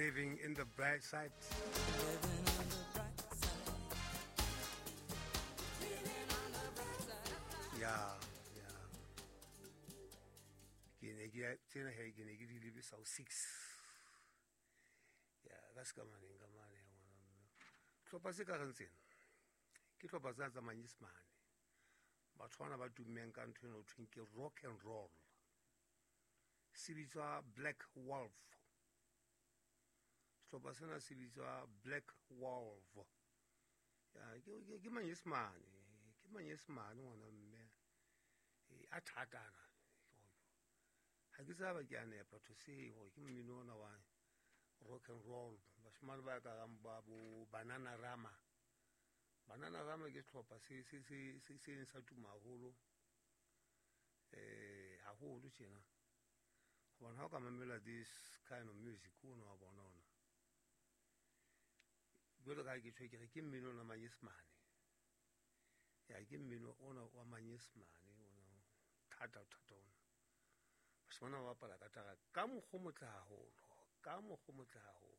Living in the Bright Side. Ya, ya. Ke ne ke tsena he ke ne ke di lebisa ho 6. Ya, ka se ka maneng ka mane ya ngwana mme. Tlhopha se ka reng tsena. Ke tlhopha tsena tsa Manyesemane. Batho bana ba tummeng ka ntho eno thweng ke rock and roll. Se bitswa Black Wolf. Sehlopha sena se bitswa Black Wolf. Ya, ke Manyesemane, ke Manyesemane ngwana mme. A thatana. Ha ke tsaba ke a nepa to say hore ke mmino ona wa rock and roll. Bashimane ba ka rang ba bo Banana Rama. Banana Rama ke sehlopha se sa tuma haholo. Haholo tjena. Hobane ha o ka mamela this kind of music o no wa bona ona. Jwalo ka ha ke tjho ke re ke mmino ona Manyesemane. Ya, ke mmino ona wa Manyesemane ona thata thata ona. Bashimane ba bapala ka tara ka mokgwa o motle haholo, ka mokgwa o motle haholo.